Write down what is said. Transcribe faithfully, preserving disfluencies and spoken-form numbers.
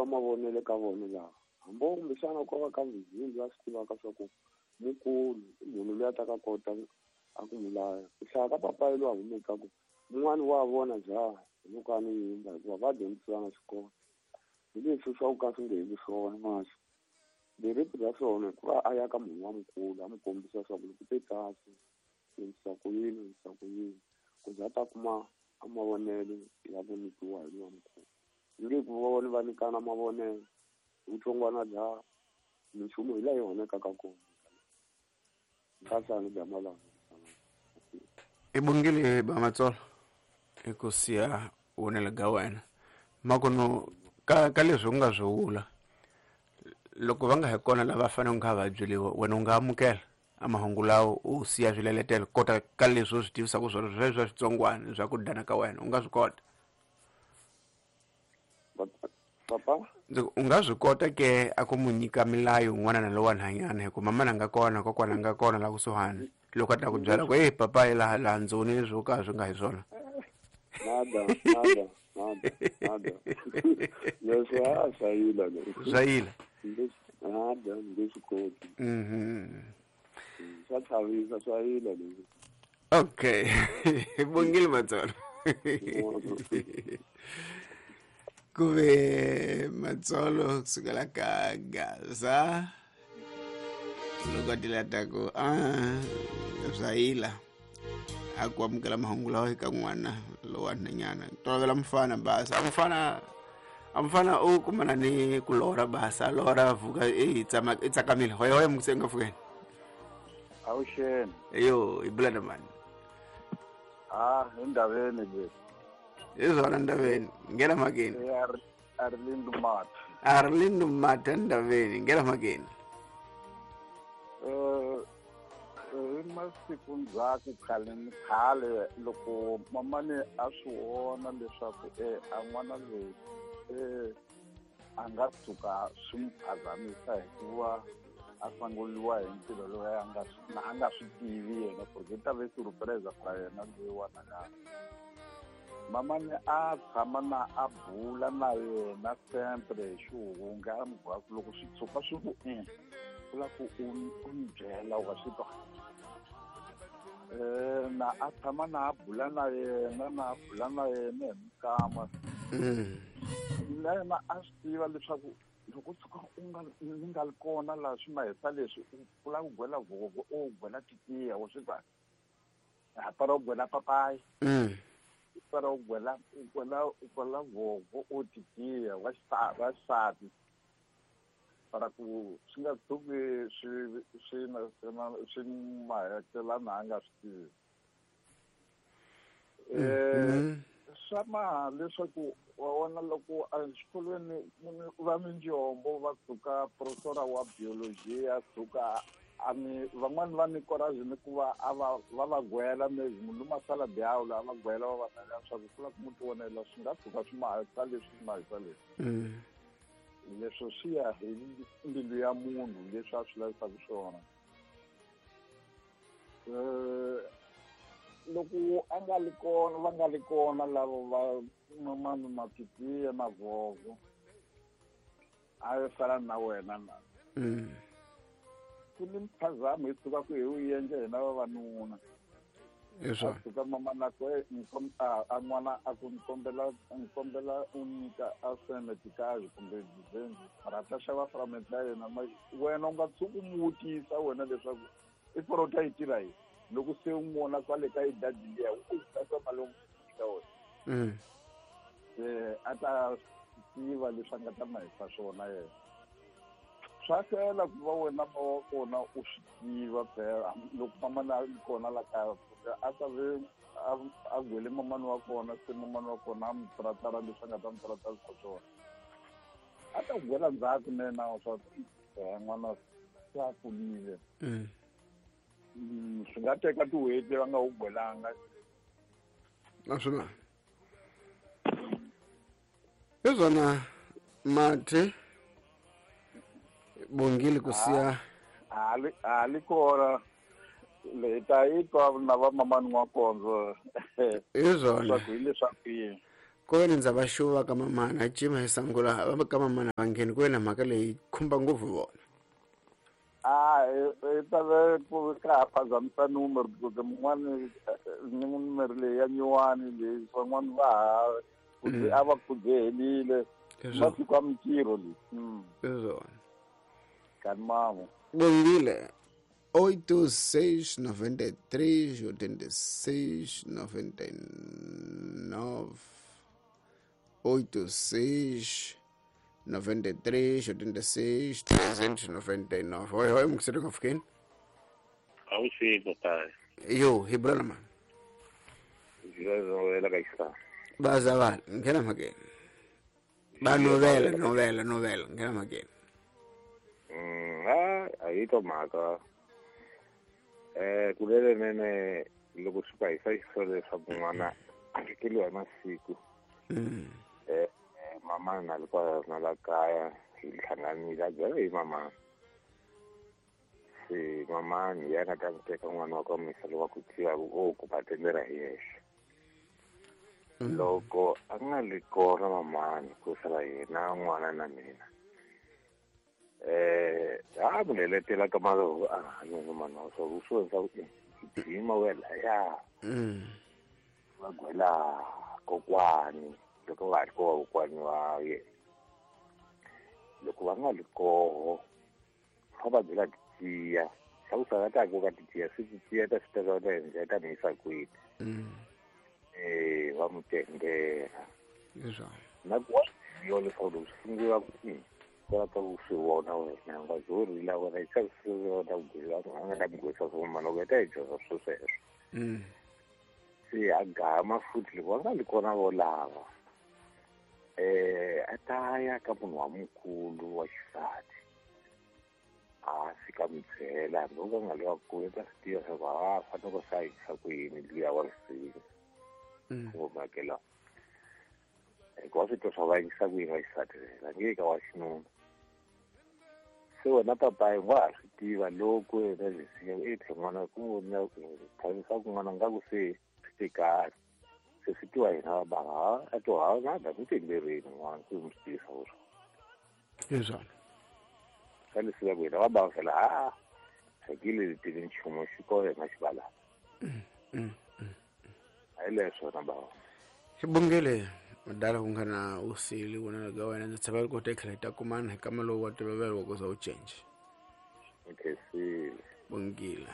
tiva mavonelo ka vona lava hambi kumbexana ko va ka vizini va swi tivaka swa ku mukulu i munhu loyi a ta ka kota a ku n'wi laya ku hlaya ka papayi lowu a humeka ku mun'wani wa vona jaha hi loko a ni yimba hikuva va dyondzisiwa na xikolo hi leswi swa ku ka swi nge heli swona masi lereti ra swona hikuva a ya ka munhu wa mukulu a n'wi kombisa swa ku loko te kasi endlisa ku yini endlisa ku yini ku za a ta kuma a mavonelo ya ku nyikiwa hi lowa mukulu nge ku va vona va nyikana mavonelo vutsongwana bya minchumu hi laha yi onhakaka kona nkasani bya malanga i bongile ba Matsolo i ku siya vonelo ga wena makuno ka ka leswi u nga swi vula loko va nga hi kona lava faneleke nga va byeliwa wena u nga amukela a mahungu lawo u siya swileletelo kota ka leswi u swi tivisaka swona sweswo swa switsongwana swa ku dana ka wena u nga swi kota papa u nga swi kota ke a ku mu nyika milayo n'wana na lowa nhanyana hikuva mama na nga kona kokwana nga kona la kusuhani loko a ta ku byela ku e papa hi laha laha ndzoni leswi wo ka swi nga hi swona nada nada nada nada leswi a swa yila leswi swa yila nada nge swi koti mhm swa chavisa swa yila leswi okay bongile Matsolo kuve Matsolo kusukela ka Gaza loko tilata ku a swa yila a ku amukela mahungu lawa eka n'wana lowa nhanyana tolovela mfana basa a mfana a mfana u kumana ni ku lorha basa a lorha vuka i tsama i tsakamile hoya hoya mukusenga fukeni awuxeni yo i bula na mani ah endaveni le hi swona ndaveni nghena mhakeni Arlindo Mata Arlindo Mata ndaveni nghena mhakeni eh hi masiku ndzhaku khale ni khale loko mamani a swi vona leswaku e a n'wana loyi e a nga tshuka swi n'wi phazamisa hikuva a sanguriwa hi ntirho loyi a nga a nga swi tivi yena ku ri ta ve surprise ra yena loyiwana ka mamani a tshama na a bula na yena sempre hi xihunga a n'wi byela ku loko swi tshuka swi ku i u la ku u u ni byela wa swi twa um na a tshama na a bula na yena na a bula na yena hi mikama na yena a swi tiva leswaku loko tshuka u nga ni nga li kona laha swi mahisa leswi u pfula ku gwela voko u gwela titiya wa swi twa hapara u gwela papayi para u gwela u gwela u gwela voko u titiya wa wa xisati para ku swi nga tshuki swi swi na swi mahetelana a nga swi tivi um swa maha leswaku wa vona loko exikolweni va minjombo va tshuka professor wa biology a tshuka a mi van'wani va ni courage ni ku va a va va va gwela maybe munhu masala diawula a va gwela va va nela leswaku ku lava ku mu tivonela swi nga tshuka swi mahisa leswi swi mahisa leswi leswo swi ya hi mbilu ya munhu leswi a swi lavisaka swona um loko a nga li kona va nga li kona lava va mamani matitiya na vovo a yo sala na wena na ku ni mphazamo hi tshuka ku hi wu endla hina vavanuna a tshuka mamana ku a n'wana a ku ni kombela ni kombela u nyika a semetikazi kumbe dizenzi mara ta xava frament ya yena wena u nga tshuki u mu vutisa wena leswaku i porota yi tirha yini loko se u n'wi vona kwale ka idadi liya u tata mali u nyika wena se a ta tiva leswi a nga ta mahisa swona yena swa hlwela ku va wena ma wa kona u swi tiva phela loko mamani a ri kona la kaya a ta ve a gwele mamani wa kona se mamani wa kona a mi tratara leswi a nga ta mi tratarisa swona a ta ku gwela ndzhaku nena swa n'wana se a kulile swi nga teka tin'hweti va nga wu gwelanga naswona hi swona Mathe bongile ku siya a li kona le ta yi twa na va mamani wa kondzo hi swona hi leswaku yini Ku ve ni ndza va xuva ka mamana cima hi sangula va ka mamana va ngheni ku ve na mhaka leyi khumba ngopfu vona. A i ta ve ku ka ha phazamisa numero because mun'wani numero leyi ya nyuwani leyi van'wani va ha a va kudzehelile masiku ya mintirho leyi. Swona. Kani mamo. Bongile. Oito seis noventa e três oitenta e seis noventa e nove oito seis noventa e três oitenta e seis trezentos noventa e nove. Oi, oi, mkusiri ngofukini? Awusipo pai. Yo, hibrana man. Zilo la kaisa. Baza ngena makeni. Ba novela, novela, novela, ngena makeni. Mm, ah, ayito maka. Eh, kulele nene loko swi ka hisa xisolo leswaku n'wana a fikeliwa hi masiku. Eh, mama na loko na la kaya hi hlanganile a byela hi mama. Se mama ni yena ta teka n'wana wa ka misa lowa ku tiva o ku batendera hi yexe. Loko a nga li kona mamani ku sala yena n'wana na mina. Eh, a mi leletela ka malo a no mano so so sa jima wela ya. Mm. Va gwela kokwani loko va ri koho kokwani wa yena. Loko va nga li koho fa va byela tiya xa ku sala ta ku ka tiya swi tiya ta swi teka ta endla ta mi yisa kwini. Mm. Eh, va mu tendela. Leswaku. Na ku wa yo leswaku loko swi sungula ku ka ku swi vona wena nga zori la wena i xa swi vona ku gwela a nga ta mi gwesa swo mana ku ta hi dyondza swo sweswo. Mm. Se a gama futhi loko va nga li kona vo lava eh a ta ya ka munhu wa mukulu wa xisati a fika mi byela hambi u nga li wa kule ta swi tiva swa ku a fanele ku sa yisa ku yini luya wa risimu ku makela hikuva swi twa swa va yingisa ku yini wa xisati va nge ka wa xinuna. Se wena papayi wa ha swi tiva loko wena lesiya e tlhe n'wana ku na thanisa ku n'wana nga ku se swi te kahle se swi tiwa hina va bava ha a to ha na da ku tenderini n'wana ku mi swi tivisa ku swona. Leswaku. Ka leswi ku hina va bava fela ha hakile le tivi nchumu xi ko yena xi vala. A hi leswo na bava. Xibongele madala ku nga na usili wona ga wena ndzi tshemba ku ta tlhela ta kumana hi kama lowu wa tolovelo wa ku za u change. Okay, Bongile.